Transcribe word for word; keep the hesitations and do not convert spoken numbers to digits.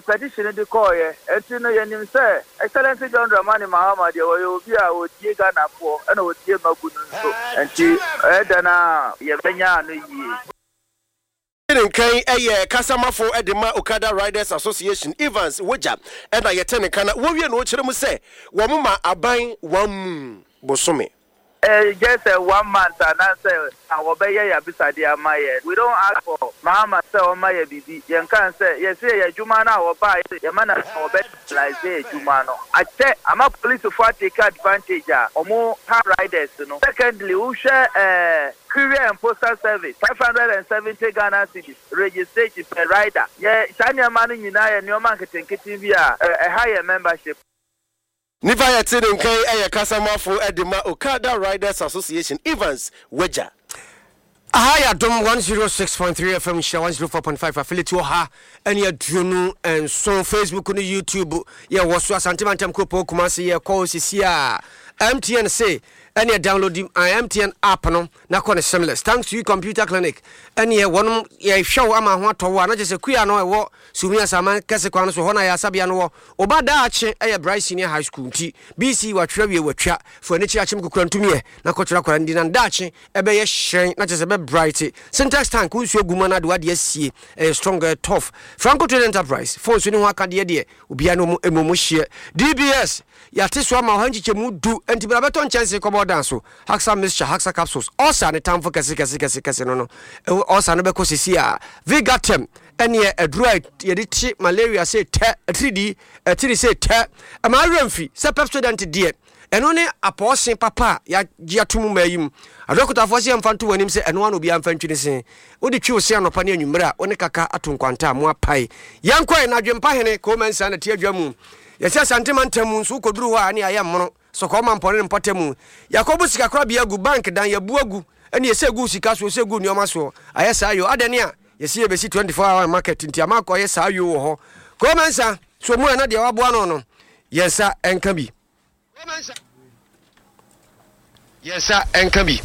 Petition de kɔɔyɛ. Ɛnti no yɛnim sɛ Excellency John Dramani Mahama deɛ, wɔyɛ obi a wɔtie Ghanafoɔ ɛna wɔtie magu no nso, nti ɛyɛ dɛn a yɛbɛnya ano yie. Ne nkan ɛyɛ kasamafo de ma Okada Riders Association, Evans Wogya, ɛna yɛte ne nka na wɔwie na wɔkyerɛ mu sɛ wɔn ma aban wɔn mu bosome. Uh, just uh, one month anaasɛ wɔbɛyɛ yɛ abisadeɛ ama yɛ. We don't ask for Mahama sɛ ɔma yɛ biribi. Yɛnka sɛ yɛsɛ yɛ adwuma no a wɔbaa yɛma na wɔbɛ legalize adwuma no akyɛ ama polisifoɔ atake advantage a ɔmo ha riders no. Secondly, wohwɛ uh, courier and postal service, five hundred and seventy Ghana cedis registration per rider. Yɛ saa nneɛma no nyinaa yɛ nneɛma nketenkete bi a ɛha yɛ membership. Nipa yɛte ne nkan ɛyɛ kasamafo de ma Okada Riders Association, Evans Wagya. Aha yɛ Adom one oh six point three F M, Nhyira one oh four point five affiliate wɔ ha ɛne aduonu nson. Facebook ne YouTube yɛwɔ so. Asante Mantam kuropɔn Kumase yɛkɔ sisi a M T N se ɛne download uh, M T N app no na kɔ ne seamless. Thanks to you Computer Clinic, ɛneɛ wɔnom yɛhwɛ wo ama ho atɔ wo a na kyerɛ sɛ kua no ɛwɔ Sumi Asaman kɛse kwan no so hɔ na yɛ asabea no wɔ ɔba daakye ɛyɛ Bright Senior High School. Nti B C watwerɛ wie watwa fo ani kyerɛ akyem kokora ntumiɛ na kɔkyerɛ akwara ndi na daakye ɛbɛyɛ hyerɛn na kyerɛ sɛ ɛbɛ bright. Syntax tank wo nsuo gu mu no ade wade asie, ɛyɛ strong, ɛyɛ tough. Franco Trade Enterprise phone so ne ho akadeɛ deɛ obiara ne ɔmo emu hyeɛ. D B S yɛate so ama ɔha nkyekyɛmu du, nti bra bɛtɔ nkyɛnse kɔbɔ dan so. Haxa mixture, Haxa capsules, ɔsa ne tamfo kɛse kɛse kɛse kɛse no no ɔsa no bɛkɔ sisi a Vigatem ɛneɛ aduro a yɛde kye malaria sɛ tɛ atiridi atiri sɛ tɛ ɛma awerɛ mfi sɛ Pepsodent deɛ ɛno ne apɔɔse papa a yɛagye ato mu ma yi mu. Adɔkotafoɔ sɛ yɛmfa nto w'anim sɛ ɛno ano obiara mfa ntwi ne se wode twi wo se anɔpa ne anwummerɛ a wo ne kaka ato nkwanta a mo apae. Yɛnkɔe na adwempa hene kɔma nsa na te adwa mu yɛsɛ Asantema ntam mu nso wokɔduru hɔ a ne ayɛ mmono sɔkɔɔ ma mpɔne ne mpɔta mu yɛakɔbo sikakorabea agu bank dan yɛbu agu ɛne yɛsɛ gu sika soɔ sɛ gu nneɔma soɔ ayɛ saa yo adɛne a yɛsi yɛbɛsi twenty-four hour market nti ama akɔyɛ saa yo wɔ hɔ. Kɔma nsa so mu a na deɛ waboa no no yɛnsa ɛnka bi, yɛnsa ɛnka bi.